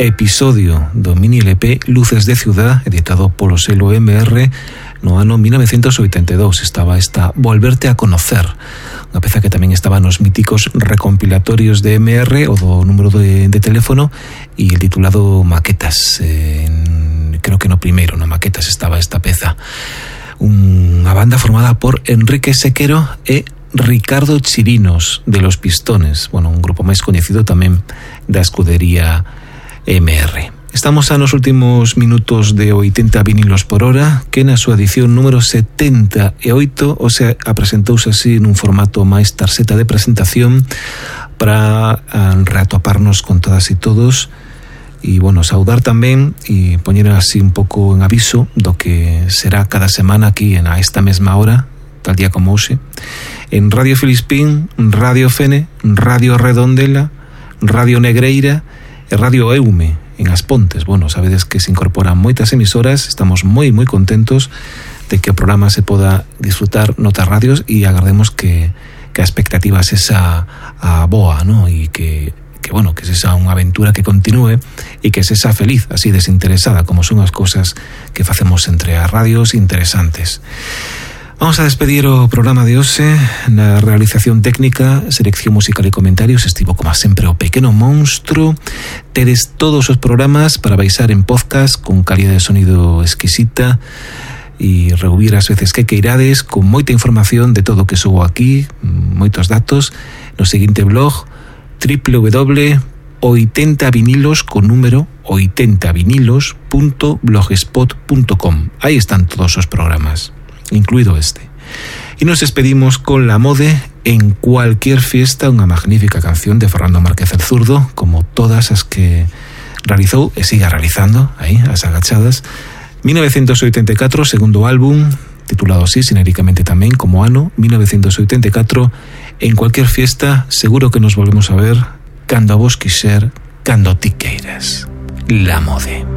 episodio do mini LP Luces de Ciudad, editado polo selo MR no ano 1982. Estaba esta Volverte a Conocer, unha peza que tamén estaba nos míticos recompilatorios de MR o do número de teléfono, e el titulado Maquetas. Creo que no primeiro, no Maquetas, estaba esta peza. Unha banda formada por Enrique Sequero e Ricardo Chirinos, de Los Pistones, bueno, un grupo máis coñecido tamén da escudería MR. Estamos a nos últimos minutos de 80 vinilos por hora, que na súa edición número 78 se apresentouse así nun formato máis tarxeta de presentación para reatoparnos con todas e todos, e bueno, saudar tamén e poñer así un pouco en aviso do que será cada semana aquí a esta mesma hora, tal día como hoxe, en Radio Filispín, Radio Fene, Radio Redondela, Radio Negreira e Radio Eume en As Pontes. Bueno, sabedes que se incorporan moitas emisoras, estamos moi contentos de que o programa se poda disfrutar noutras radios, e agardemos que a expectativa sexa a boa, ¿no? E que bueno, que sexa unha aventura que continúe e que sexa feliz, así desinteresada, como son as cousas que facemos entre as radios interesantes. Vamos a despedir o programa de hoxe. Na realización técnica, selección musical e comentarios estivo como sempre o Pequeno Monstro. Tedes todos os programas para baixar en podcast con calidad de sonido exquisita e reubir as veces que queirades, con moita información de todo o que subo aquí, moitos datos, no seguinte blog www.80vinilos con número 80vinilos.blogspot.com. Aí están todos os programas, incluído este. Y nos despedimos con La Mode, En Cualquier Fiesta, unha magnífica canción de Fernando Márquez el Zurdo, como todas as que realizou e siga realizando aí, as agachadas. 1984, segundo álbum, titulado así xenéricamente tamén como ano 1984. En Cualquier Fiesta, seguro que nos volvemos a ver cando a vos quiser, cando ti queiras. La Mode.